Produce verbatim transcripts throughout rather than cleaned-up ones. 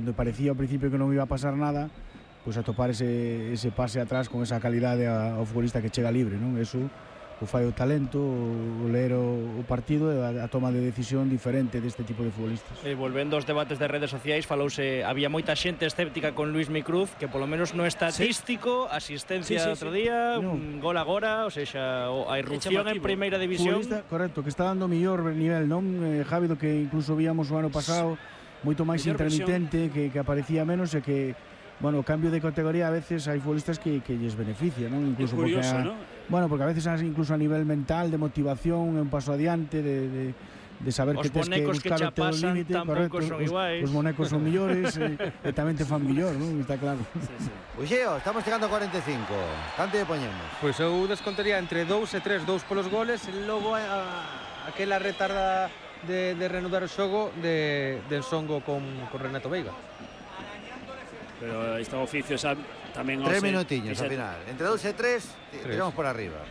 onde parecía ao principio que non iba a pasar nada, pois atopar ese, ese pase atrás con esa calidade ao futbolista que chega libre, non? Eso o fai o talento, o ler o, o partido e a, a toma de decisión diferente deste tipo de futbolistas. E volvendo aos debates de redes sociais, falouse, había moita xente escéptica con Luís Micruz, que polo menos no estatístico, sí. asistencia sí, sí, outro sí. día, no. un gol agora, ou seja, a irrupción en primeira división. Futbolista, correcto, que está dando mellor nivel, non? Eh, Javi, do que incluso víamos o ano pasado, moito máis intermitente, que, que aparecía menos e que bueno, o cambio de categoría a veces hai futbolistas que, que lles beneficia, non? Incluso é curioso, porque a, ¿no? Bueno, porque a veces incluso a nivel mental, de motivación, un paso adiante, de, de, de saber os que tens que buscar o teu límite, correcto, son iguais. Os, os bonecos son millores e, e tamén te fan millor, non? Está claro. Sí, sí. Uxeo, estamos chegando a cuarenta e cinco. Canto lle poñemos? Pois eu descontaría entre dous e tres, dous polos goles, e logo a, a, aquela retarda de, de reanudar o xogo de, de Ensongo con, con Renato Veiga. Pero está o oficio xa tamén tres minutiños ao final, entre dous e tres tiramos por arriba.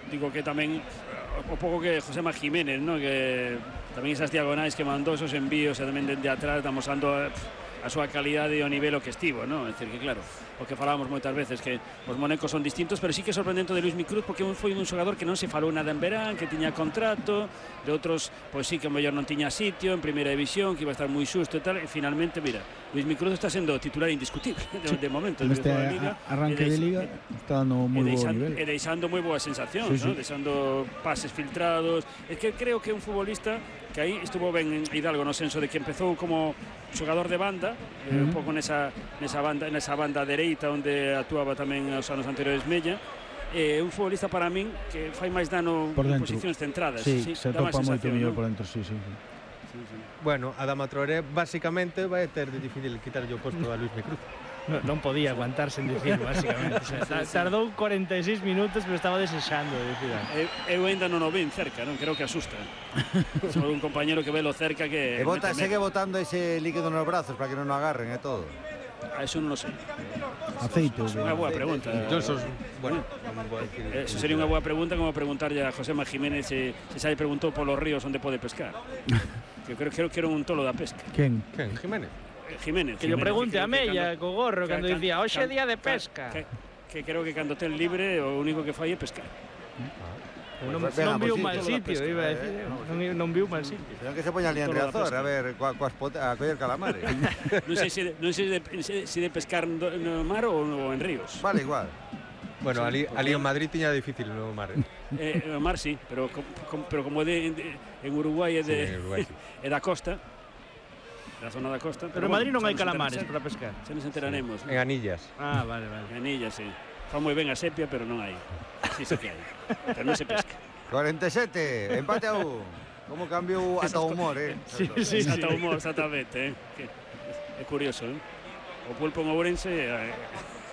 Digo que tamén o pouco que Josema Jiménez, ¿no? Que tamén esas diagonais que mandou, esos envíos e tamén dende atrás estamos dando a súa calidade e o nivel o que estivo, ¿no? É dicir que claro, o que falábamos moitas veces, que os monecos son distintos, pero sí que é sorprendente de Luís Micruz, porque foi un xogador que non se falou nada en verán, que tiña contrato, de outros, pois sí que o mellor non tiña sitio en primeira división, que iba a estar moi xusto e tal, e finalmente, mira, Luís Micruz está sendo titular indiscutible de, de momento. Neste arranque de Liga está dando moi bo nivel. E deixando moi boas sensacións, sí, sí. ¿no? Deixando pases filtrados. É que creo que é un futbolista que aí estuvo ben en Hidalgo no senso de que empezou como xogador de banda, eh, uh -huh. un pouco nesa, nesa, banda, nesa banda dereita onde actuaba tamén os anos anteriores Mella. É eh, un futbolista para min que fai máis dano en posicións centradas. Sí, sí, se topa moito mellor por dentro, sí, sí, sí. Sí, sí. Bueno, Adama Traoré basicamente vai ter de difícil quitarlle o posto a Luís Micruz. No, non podía aguantar sen dicir, basicamente. O sea, sí, sí. Tardou cuarenta e seis minutos, pero estaba desexando de dicir. Eu ainda non o vin cerca, non creo que asusta. Só un compañero que velo cerca que... E bota, segue botando ese líquido nos brazos para que non o agarren, é todo. A eso non o sei. Aceite. É unha boa pregunta. Johnson, bueno, eso sería unha boa pregunta, como preguntarlle a Josema Jiménez se, se xa preguntou polos ríos onde pode pescar. Eu creo, creo que era un tolo da pesca. Quen? Quen? Jiménez. Jiménez. Que yo pregunte a Mella, co gorro, cando dicía, hoxe é día de pesca. Que, que creo que cando ten libre, o único que fai é pescar. Non, non viu un mal sitio, iba a decir. Non, non viu un mal sitio. Tengo que se poña ali en Riazor, a ver, coas a coller calamares. Non sei se non sei se de pescar no mar ou en ríos. Vale, igual. Bueno, ali, ali en Madrid tiña difícil no mar. Eh, no mar sí, pero, com, com, pero como de, de, en Uruguai é de, sí, Uruguay, sí. é da costa, da zona da costa. Pero en Madrid non hai calamares para pescar. Se nos enteraremos. Sí. En anillas. Ah, vale, vale. En anillas, sí. Fa moi ben a sepia, pero non hai. Sí, sí que hai. Pero non se pesca. cuarenta e sete, empate a un. Como cambiou ata o humor, eh? Sí, sí, sí. Ata o humor, exactamente, eh? Que é curioso, eh? O pulpo en Ourense... Eh,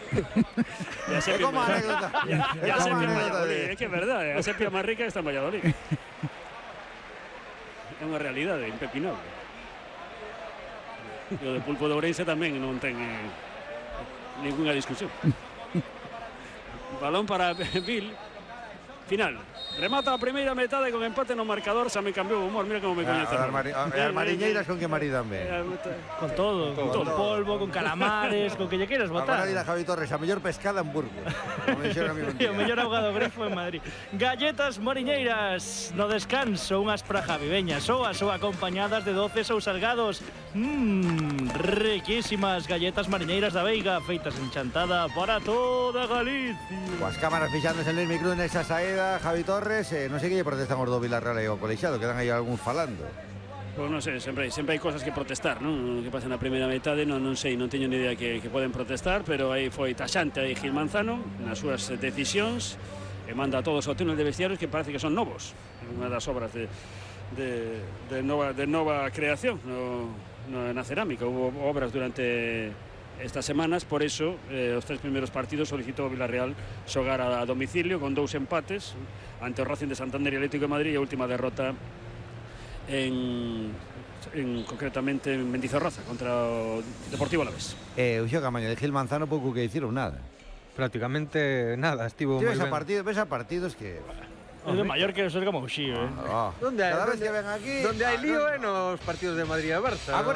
é como anécdota. É como anécdota. É que é verdade, a sepia máis rica está en Valladolid. É unha realidade impepinable. E o de pulpo de Ourense tamén non ten eh, ninguna discusión. Balón para Bill. Final. Remata a primeira metade con empate no marcador, xa me cambiou o humor, mira como me coñece. Ah, as mariñeiras con que maridan ben. Con todo, con todo, polvo, con calamares, con que lle queres botar. Agora dirá Javi Torres, a mellor pescada en Burgos. Como dixeron a mí un día. E o mellor ahogado grifo en Madrid. Galletas mariñeiras no descanso, unhas para Javi, veña, soas ou acompañadas de doces ou salgados. Mmm, riquísimas galletas mariñeiras da Veiga, feitas en Chantada para toda Galicia. Coas cámaras fixándose en Luís Micruz nesa saída, Javi Torres, eh, non sei que lle protestan os do Vilarreal e o Colexado, quedan aí algúns falando. Pois non sei, sempre, sempre hai cosas que protestar, non? O que pasa na primeira metade, non, non sei, non teño ni idea que, que poden protestar, pero aí foi taxante aí Gil Manzano nas súas decisións e manda a todos ao túnel de vestiarios que parece que son novos. Unha das obras de, de, de, nova, de nova creación no, no, na cerámica. Hubo obras durante estas semanas, por eso eh, os tres primeiros partidos solicitou o Vilarreal xogar a, a domicilio con dous empates ante o Racing de Santander e Atlético de Madrid e a última derrota en, en concretamente en Mendizorroza contra o Deportivo Alavés. Eh, Uxo Camaño, de Gil Manzano pouco que diciron nada. Prácticamente nada, estivo moi ben. Ves a partidos, ves a partidos que É de maior que ser como Uxío, eh. Ah, donde hai, cada donde, vez que ven aquí, donde hai lío é nos partidos de Madrid e Barça.